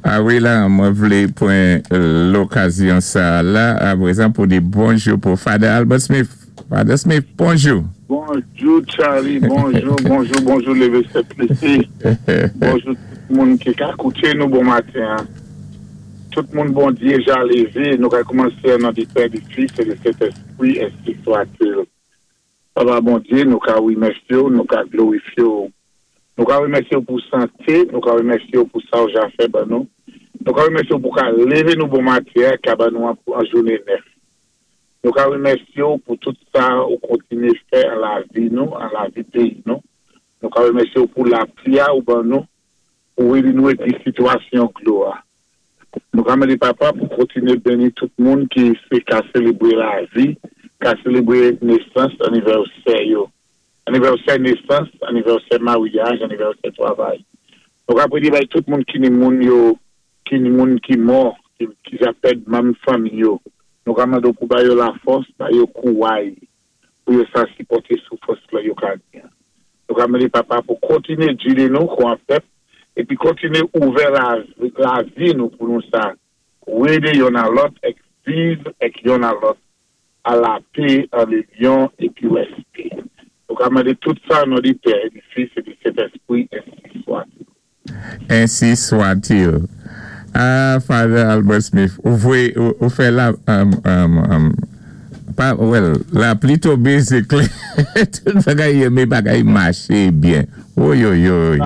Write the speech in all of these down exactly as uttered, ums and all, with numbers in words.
A wi la, mwen vlé pwan lokazyon sa la, aprezan pou di bonjou pou Father Albert Smith. Father Smith, bonjou. Bonjou Charlie, bonjou, bonjou, bonjou Leve Sèt Plesi. Bonjou tout moun ki ka kouté nou bon maten. Tout moun Bondyé ja lévé, nou ka koumansé nan di Pè, di Fis é di Sentèspwi, ensi swat-il. Papa Bondyé, nou ka wimèsyé ou, nou ka glorifyé ou. Nou ka wimèsyé ou pou santé, nou ka wimèsyé ou pou sa ou ja fè ban nou. Nou ka wimèsyé ou pou ka lévé nou bon maten, ka ban nou an, an jouné nèf. Nou ka wimèsyé ou pou tout sa ou kontiné fè an lavi nou, an lavi péyi nou. Nou ka wimèsyé ou pou lapli a ou ban nou, pou wédi nou épi sitwasyon dlo a. Nou ka mandé papa pou kontiné béni tout moun ki sé ka sélébwé lavi, ka sélébwé nésans, anivèsè yo. Anivèsè nésans, anivèsè maryaj, anivèsè twavay. Nou ka pwédé bay tout moun ki ni moun yo, ki ni moun ki mò, ki, ki ja pèd manm fanmi yo. Nou ka mandé pou ba yo lafòs, ba yo kouway, pou yo sa sipòté soufrans la yo ka gen. Nou ka mandé papa pou kontiné gidé nou kon an pèp, épi kontiné ouvè la, lavi nou pou nou sa wédé youn a lòt èk viv èk youn a lòt a lapè, an linyon épi wèspè. Nou ka mandé tout sa nan di Pè, di Fis é di Sentèspwi, ensi swat. Ensi swat-il. Ah, Father Albert Smith, ou vwé, ou, ou fè la, um, um, um, pa, well, lapli tonbé, sé klè. Tout bagay mé bagay maché byen. Woy, woy, woy.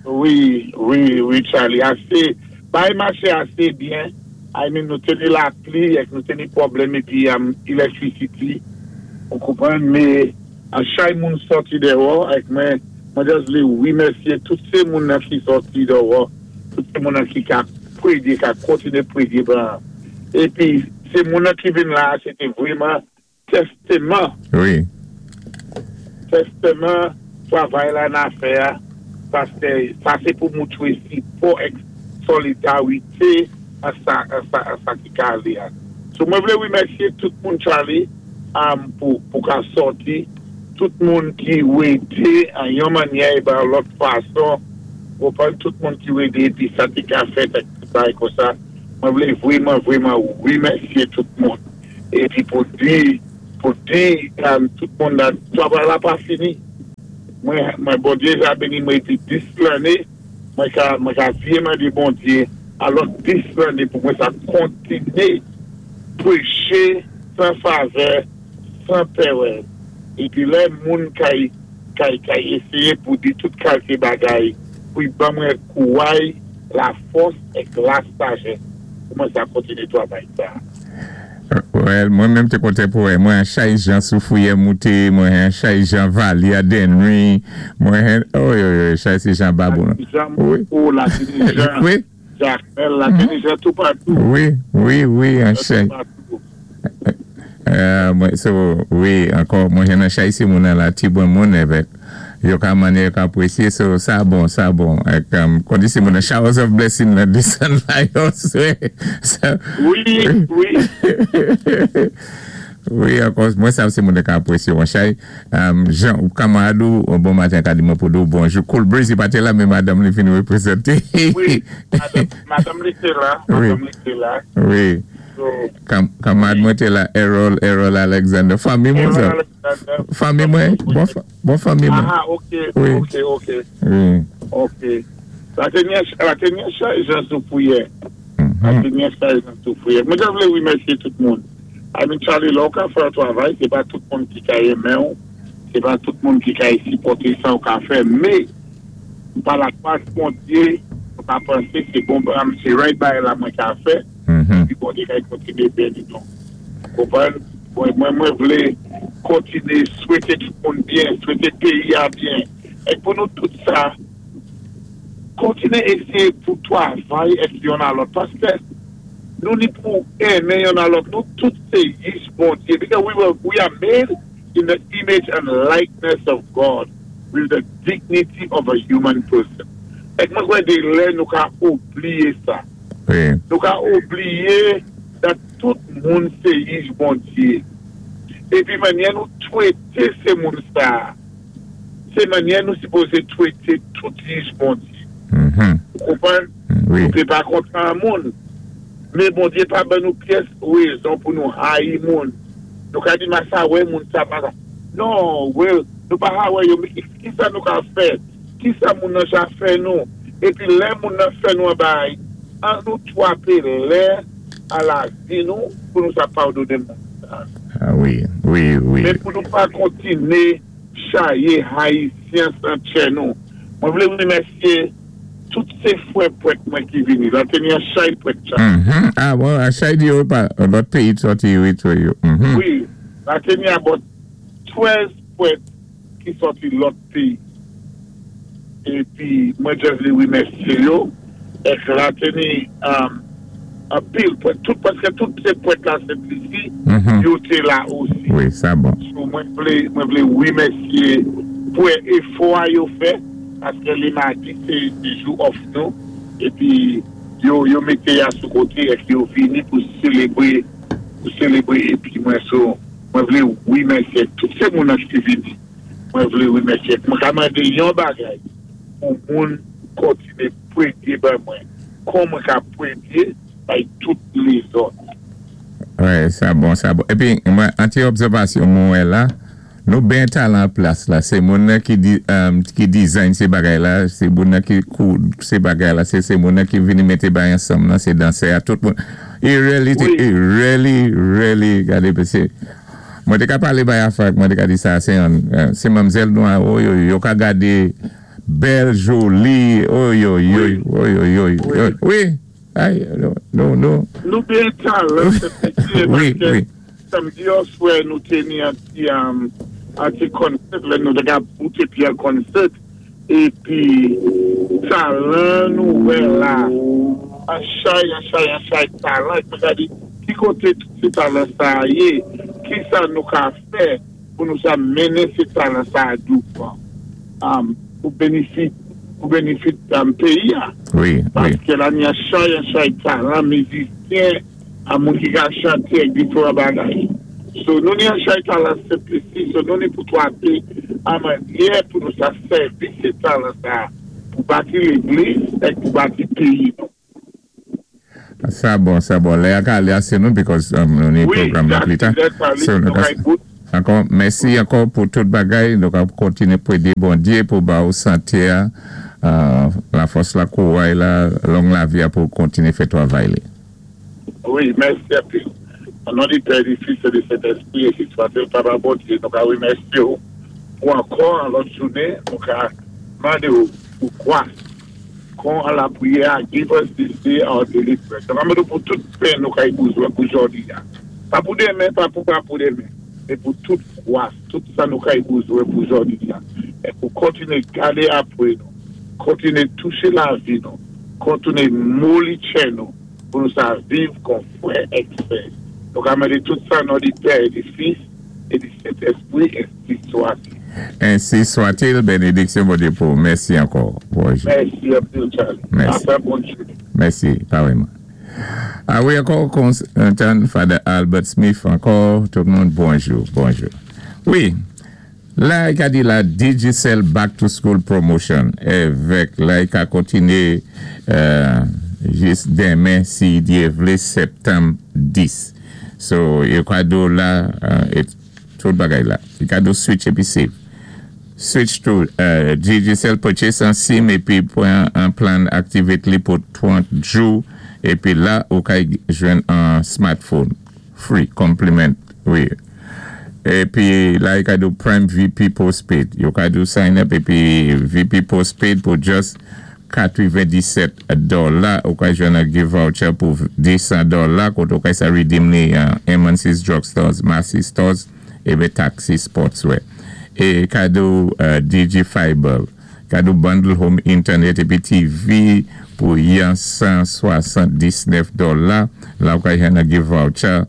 Wi, wi, wi, Charlie, asé, bagay maché asé byen. I mean, nou té ni lapli, èk nou té ni pwoblèm épi um, electricity, ou konpwann, mé an chay moun sòti déwò, èk mwen, mwen just vlé wimèsyé tout sé moun nan ki sòti déwò, tout sé moun nan ki ka pwédé, ka kontiné pwédé ban. Épi, sé moun nan ki vin la, sé té vwéman tèsteman, Wi. tèsteman, twavay la na fè a, sa sé, sa sé pou moutwé sipò èk solidarité a sa, a sa, a sa ki ka alé a. So mwen vlé wimèsyé tout moun Charlie um, pou, pou ka sòti, tout moun ki wédé an yon mannyè é ban lòt fason, konpwann tout moun ki wédé épi sa té ka fèt ak tout bagay kon sa, mwen vlé vwéman, vwéman wimèsyé tout moun. Épi pou di, pou di um, tout moun la, twavay la pa fini. Mwen, mwen Bondyé ja béni mwen épi dis lanné, mwen ka, mwen ka vye mandé Bondyé a lòt dis lanné pou mwen sa kontiné pwéché san favè, san pèrèz. Épi lè moun kay, kay, kay éséyé pou di tout kalité bagay, pou y ban mwen kouway, lafòs èk la sajès pou mwen sa kontiné twavay sa. Well, mwen menm té kontan pou wè, mwen chay jan Soufrière mouté, mwen chay jan Valia Denry, mwen, oy, oy, oy, chay sé jan Babou. Jan Wi. Mou, la tini jan, Wi, Jacmel, la tini jan tout patou. wi, wi, wi, an chay. Tout patou. Euh, mwen, so, wi, ankò, mwen jen an chay si moun an la ti bon moun evèk. Yo ka manye, yo ka apresye, so, sa bon, sa bon. Ek, um, kondi si moun an showers of blessing la desann la yo, so, so, Wi, wi. Wi, ankò, mwen sav si moun ka apresye wan chay. Um, Jean, ou kamarad ou, bon maten ka di mwen pou do bonjou. Cool Breezy pa té la, mé madanm li fin wépwézanté. Wi, madanm, madanm li té la, Wi. madanm li té la. Wi. So, Kam, kamarad mwen té la, Errol, Errol Alexander. Fanmi mwen sa. Errol Alexander. Fanmi mwen, bon, fa- bon fanmi mwen. Ah, ok, Wi. ok, ok, Wi. ok. La teni la teni chay jan Soufrière. La Mhm. teni chay jan Soufrière. Mwen ta vlé wimèsyé tout moun. I mean, Charlie, lè ou ka fè yon twavay, sé pa tout moun ki ka enmen ou, sé pa tout moun ki ka sipòté sa ou ka fè, mé, pa la gras Bondyé, ou pa pansé sé bon, sé right bagay la mwen ka fè, Mhm. épi Bondyé ka kontiné béni nou. Konpwann? Mwen, mwen, mwen vlé kontiné swété tout moun byen, swété péyi a byen. É pou nou tout sa, kontiné éséyé pou twavay èk youn a lòt. Paské nou ni pou enmen youn a lòt, nou tout sé yij Bondyé. Because we were, we are made in the image and likeness of God with the dignity of a human person. Èk mwen kwè dé lè nou ka oubliyé sa. Wi. Nou ka oubliyé that tout moun sé yij Bondyé. Épi mannyè nou twété sé moun sa, sé mannyè nou sipozé twété tout yij Bondyé. Mhm. Ou konpwann? Wi. Nou pé pa kontan moun. Men Bondyé pa ban nou pyès wézon pou nou hayi moun. Nou ka di ma sa wè moun sa pa sa. Non, wè, nou pa ha wè yo, men ki sa nou ka fè? Ki sa moun nan ja fè nou? Épi lè moun nan fè nou an bay, an nou twapé lè a lavi nou pou nou sa padoné moun sa. Ah wi, wi, wi. Men pou nou pa kontiné chayé Ayisyen san tchè nou. Mwen vlé wimèsyé tout sé fwè pwèt mwen ki vini. La té ni an chay pwèt chay. Mhm. Ah bon, a chay di yo pa, lòt péyi sòti wi tou yo. Mhm. Wi, la té ni about twèz pwèt ki sòti lòt péyi. Épi mwen jis vlé wimèsyé yo. Èk la té ni um, anpil pwèt, tout, paské tout sé pwèt la Sent Lisi, Mhm. yo té la osi. Wi, sa bon. So, mwen vlé, mwen vlé wimèsyé pou éfò a yo fè, paské lé madi sé di jou off nou, épi yo, yo mété ya sou koté èk yo vini pou sélébré, pou sélébré, épi mwen so, mwen vlé wimèsyé tout sé moun an ki vini, mwen vlé wimèsyé. Mwen ka mandé yon bagay pou moun kontiné pwédyé ban mwen, kon mwen ka pwédyé bay tout lézòt. Wè, sa bon, sa bon. Épi, mwen, an ti obsèvasyon mwen la, nou ben talan plas la, sé moun nan ki, di, um, ki design sé bagay la, sé moun nan ki koud sé bagay la, sé sé moun nan ki vini mété bay ansanm nan, sé dansè a tout moun. It really, Wi. it really, really, gadé, sé, mwen té ka palé bay afak, mwen té ka di sa, sé an, euh, sé manmzèl nou a, oh yo, yo ka gadé bèl, joli, oh yo, yo, Wi. oh yo, yo, Wi. yo, wi, ay, non, non, non. Nou ben talan, se piti, Wi, paské wi. Samdi oswè nou té ni an ti, um, an ti konsèt, lè nou te ka bouté pi an konsèt, épi talan nou wè la, an chay, an chay, an chay talan, mwen ka di, ki koté tout sé talan sa yé, ki sa nou ka fè pou nou sa mennen sé talan sa a douvan, um, pou bénifit, pou bénifit um, péyi a. Wi, wi. Paské la ni an chay, an chay talan, mizisyen, a moun ki ka chanté ak diferan bagay. So nou ni an chay talan Sent Lisi, so nou ni pou twapé an mannyè pou nou sa sèvi sé talan sa pou bati légliz èk pou bati péyi nou. Sa bon, sa bon. Lè a ka alé asé nou because um, nou ni Wi, pwogram nan pli ta. So, nou nou ka- kay bout. Ankò, mèsi ankò pou tout bagay. Nou ka kontiné pwédyé Bondyé pou ba ou santé a, euh, la fòs la kouway la, long lavi a pou kontiné fè twavay li. Wi, mèsi anpil. An non di Pè, di Fis, é di Sentèspwi, ensi swat-il, Papa Bondyé, nou ka wimèsyé ou pou ankò an lòt jounen, nou ka mandé ou pou gwas, kon an lapriyè, give us this day our daily bread. Nou ka mandé ou pou tout pen nou ka y bouzwen pou jòdi a. Pa pou démen, pa pou pa pou démen, men pou tout gwas, tout sa nou ka y bouzwen pou jòdi a. É pou kontiné gadé apwé nou, kontiné touché lavi nou, kontiné moli tchè nou, pou nou sa viv kon fwè èk sè. Nou ka mandé tout sa nan di Pè, é di Fis, é di Sentèspwi, ensi swat-il. Ensi swat-il, bénédiksyon Bondyé pou. Mèsi ankò. Bonjou. Mèsi anpil, Charlie. Mèsi. Apwé, bòn jounen. Mèsi, parèyman. Ah wi, ankò, kontan Father Albert Smith, ankò, tout moun, bonjou, bonjou. Wi, la, i ka di la Digicel Back to School Promotion, èvèk, la, i ka kontiné euh, jis démen, si Dyé vlé, septanm dis. So, yo ka do la, euh, é tout bagay la. I ka do switch épi save. Switch to uh, Digicel purchase an SIM épi pwan an plan activate li pou trant jou épi la ou ka jwenn an smartphone free compliment, wi. Épi la i ka do Prime V P postpaid, yo ka do sign up épi V P postpaid pou just katwéven-disét dola ou ka jwenn an gift voucher pou désan dola koté ou ka sa redeem ni uh, M and C's Drugstores, Massy Stores épi Taxi Sportswear. É kado uh, D J Fiber, kado bundle home internet épi T V pou yon san swasann-disnèf dola, la ou ka jwenn an gift voucher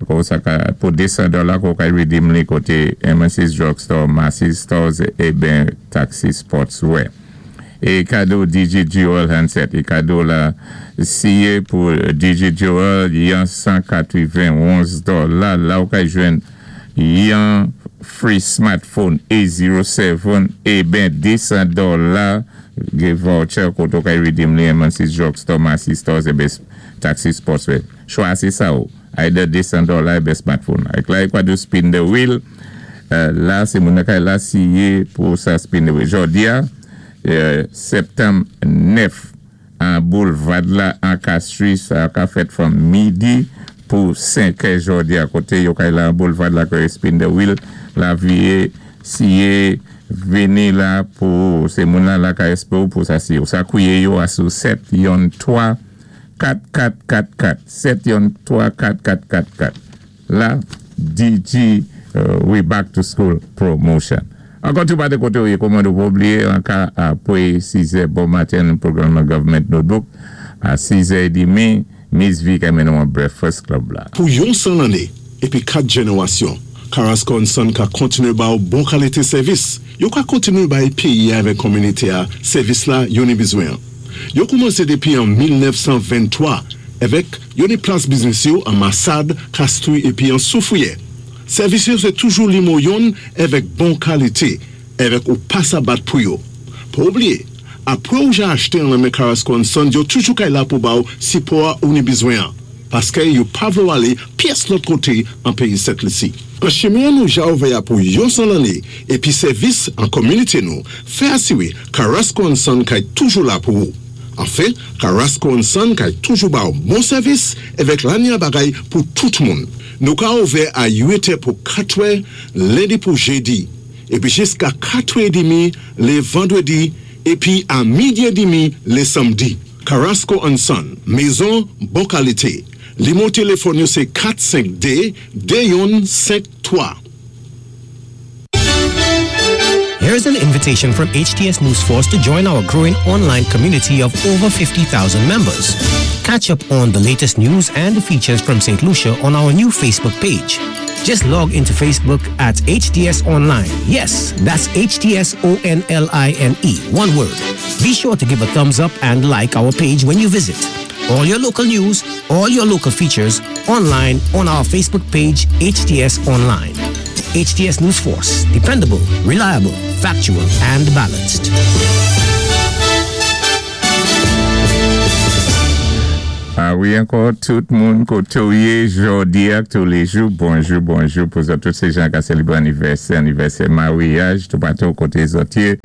kon sa ka, pou désan dola kon ka redeem li koté M and C's Drugstore, Massy Stores é ben Taxi Sportswear. É kado D J Dual Handset, é kado la siye pou D J Dual yon san katwéven-onz dola, la ou ka jwenn yon free smartphone A zéro séven é ben désan dola. Gen voucher koto kay redeem li M and C Drugstore, Massy Stores, ébé Taxi Sportswear. Chwazi sa ou. Either two hundred dollars ébé smartphone. Ak la, kwa do spin the wheel. La, sé moun kay la siyé pou sa spin the wheel. Jòdi a, septanm nèf, an Boulevard la, an Castries, sa ka fèt from midi pou senk è jòdi a koté yo kay la an Boulevard la kay spin the wheel. La vié, siyé, vini la pou sé moun la la ka espé ou pou sa siyé. Ou sa kouwé yo a sou sèt yon twa kat kat kat kat. sèt yon twa kat kat kat kat. La, D G, uh, we back to school promotion. Ankò tou pa de koté ou yé kòman nou pou blié an ka apwé sis è bon maten pwogram Government Notebook a sis è dmi Miss V ka mennen an Breakfast Club la. Pou yon san lanné, épi kat jénéwasyon, Carrasco and Son ka kontiné ba ou bon kalité sèvis. Yo ka kontiné bay péyi avèk kominité a sèvis la yo ni bizwen. Yo koumansé dépi an mil nèf san venntwa avèk yo ni plas biznis yo an Massade, Castries épi an Soufrière. Sèvis yo sé toujou nimewo youn avèk bon kalité, avèk ou pa sa bat pou yo. Pa oublié, apwé ou ja achté an men Carrasco and Son, yo toujou kay la pou ba ou sipò ou ni bizwen. Paské yo pa vlé ou alé pyès lòt koté an péyi Sent Lisi. An chimen nou ja ouvè pou yon san lanné épi sèvis an kominité nou, fè asiwé Carrasco and Son kay toujou la pou ou. Anfen, Carrasco and Son kay toujou ba ou bon sèvis avèk lanya bagay pou tout moun. Nou ka ouvè a uit è pou kat è, lendi pou jédi, épi jiska kat è dmi lé vandwédi, épi a midi dmi lé samdi. Carrasco and Son, mézon bon kalité. Nimewo téléfòn yo sé kat senk dé de youn senk twa. Here's an invitation from H T S News Force to join our growing online community of over fifty thousand members. Catch up on the latest news and features from Saint Lucia on our new Facebook page. Just log into Facebook at H T S Online. Yes, that's H T S O N L I N E, one word. Be sure to give a thumbs up and like our page when you visit. All your local news, all your local features online on our Facebook page, H T S Online. H T S News Force, dependable, reliable, factual, and balanced. Ah wi, ankò tout moun koté ou yé jòdi a tou lé jou, bonjou, bonjou pou tout sé jan ka sélébré anivèsè, anivèsè maryaj, tou patou koté zòt yé,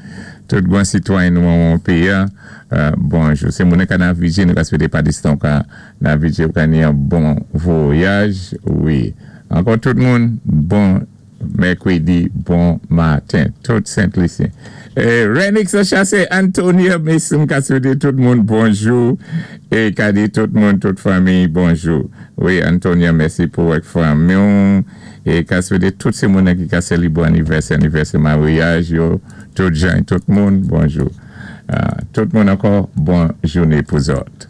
tout bon sitwayen nou an péyi, euh, bonjou. Sé moun ka navigé, nou ka swété pa distan ka navigé ou ka ni yon bon vwayaj, wi. Ankò tout moun, bon mèkwédi, bon maten, tout Sent Lisyen. Eh, Renix Chassé, Antonio Mason ka swété tout moun bonjou é ka di tout moun, tout fanmi, bonjou. Wi, Antonio, mèsi pou ak fanmi é ka swété tout sé moun ki ka sélébré anivèsè, anivèsè maryaj yo, tout jan, tout moun, bonjou. Uh, tout moun ankò, bon jouné pou zòt.